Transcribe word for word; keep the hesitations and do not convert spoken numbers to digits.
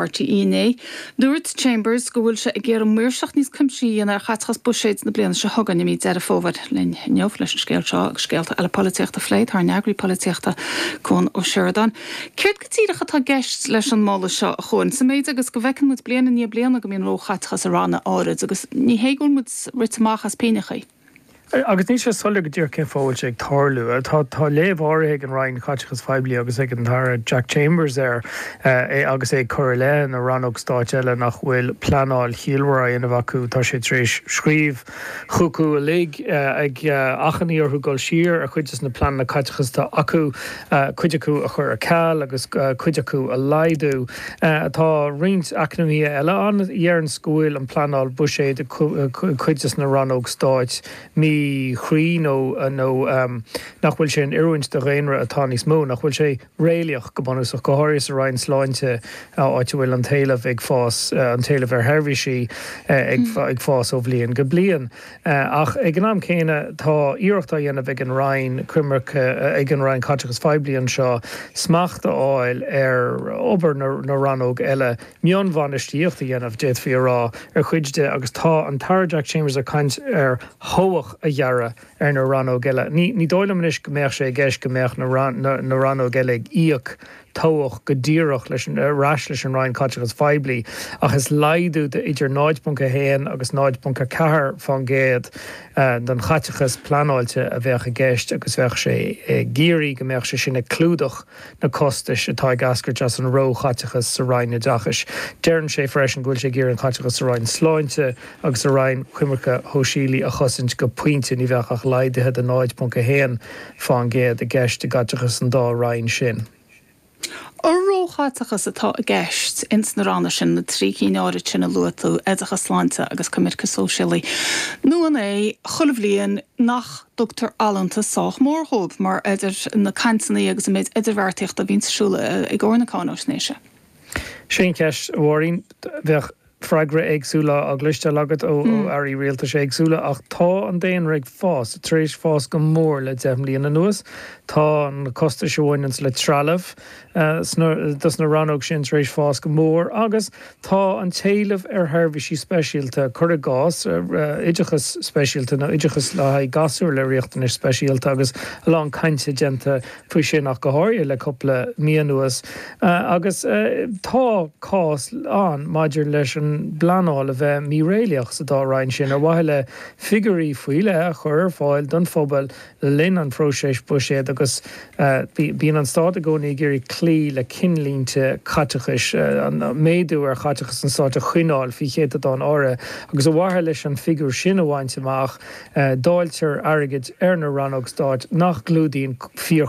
R T E inné. Dúirt Chambers go bhfuil sé ag iarraidh maoirseacht níos cuimsithí a dhéanamh ar chaiteachas buiséid na bliana seo chugainn i mí Deireadh Fómhair. Linn inniu leis an scéal seo agus scéalta eile polaitíochta a phlé tá ár n-eagraí polaitíochta, Cuan Ó Seireadáin. Céard go díreach atá i gceist leis an moladh seo, a Chuain, sa méid agus go bhfeiceann muid bliain i ndiaidh bliana go mbíonn róchaiteachas i ranna áirid agus ní hé go bhfuil muid rite amach as pingin? Agus níl sé soiléir go díreach cén fáth a bhfuil sé ag tarlú. Tá tá léamh áirithe ag an Roinn Caiteachais Phoiblí agus ag an tAire Jack Chambers air é agus é ag cur i leith na rannóg stáit eile nach bhfuil pleanáil chiallmhar á dhéanamh acu. Tá sé tar éis scríobh chucu uilig ag achainí orthu dul siar ar chuid de na pleananna caiteachais atá acu, cuid acu a chur ar ceal agus cuid acu a laghdú. Tá roinnt eacnamaithe eile ann a deireanns go bhfuil an pleanáil buiséid cuid de na rannóg stáit míchruinn nó nó nach bhfuil sé in oiriúint do dhaonra atá níos mó, nach bhfuil sé réalaíoch go bunúsach, go háirithe sa Roinn Sláinte, áit a bhfuil an t-éileamh ag fás, an t-éileamh ar sheirbhísí ag ag fás ó bhliain go bliain. Ach ag an am céanna tá iarracht á dhéanamh ag an Roinn Coimirce ag an Roinn Caiteachais Phoiblí anseo smacht a fháil ar obair na na rannóg eile, mionbhainistíocht a dhéanamh, d'fhéadfaí a rá, ar chuid de agus tá an tAire Jack Chambers ag caint ar thobhach a ghearradh ar na rannóg eile. Ní ní dóigh liom anois go mbeadh sé i gceist go mbeadh na na na rannóg eile ag íoc tobhach go díreach leis an ar ais leis an Roinn Caiteachais Phoiblí ach is laghdú de idir náid ponc a haon agus náid ponc a ceathair faoin gcéad den chaiteachas pleanáilte a bheadh i gceist agus bheadh sé ag iarraidh go mbeadh sé sin ag clúdach na costais atá ag eascairt as an róchaiteachas sa Roinn Oideachais. Deireann sé freisin go bhfuil sé ag iarraidh an caiteachas sa Roinn Sláinte agus sa Roinn Coimirce Shóisialaí a chosaint go pointe. Ní bheadh ach laghduithe de náid ponc a haon faoin gcéad i gceist i gcaiteachas an dá roinn sin. An róchaiteachas atá i gceist ins na ranna sin, na trí cinn áirid sin a luaigh tú, oideachas, sláinte agus coimirce sóisialaí, nó an é chuile bhliain nach dtugtar allúntas sách mór dhóibh mar idir na cainteanna agus an méid idirbheartaíochta a bhíonn ar siúl i gcomhair na cáinaisnéise? Sin ceist, a Mháirín. Bheadh freagra éagsúla á gcloisteáil agat ó airí rialtais éagsúla ach tá an daonra ag fás, tar éis fás go mór le deich mbliana anuas. Tá na costais a bhaineann le trealamh dos na rannóg sin tar éis fás go mór agus tá an t-éileamh ar sheirbhísí speisialta, cuir i gcás oideachas speisialta nó oideachas le haghaidh gasúir le riachtanais speisialta agus a lán cainte déanta faoi sin ach go háirithe le cúpla mí anuas agus tá cás ann maidir leis an bpleanáil a bheith míréalaíoch sa dá roinn sin ar mhaithe le figiúirí faoi leith a chur ar fáil don phobal le linn an phróisis buiséid agus bíonn an stát i gcónaí ag iarraidh cloí le cinnlínte caiteachais, an méadú ar chaiteachas an stáit a choinneáil faoi chéatadán áirithe agus ar mhaithe leis an figiúr sin a bhaint amach dáiltear airgead ar na rannóg stáit nach gclúdaíonn fíor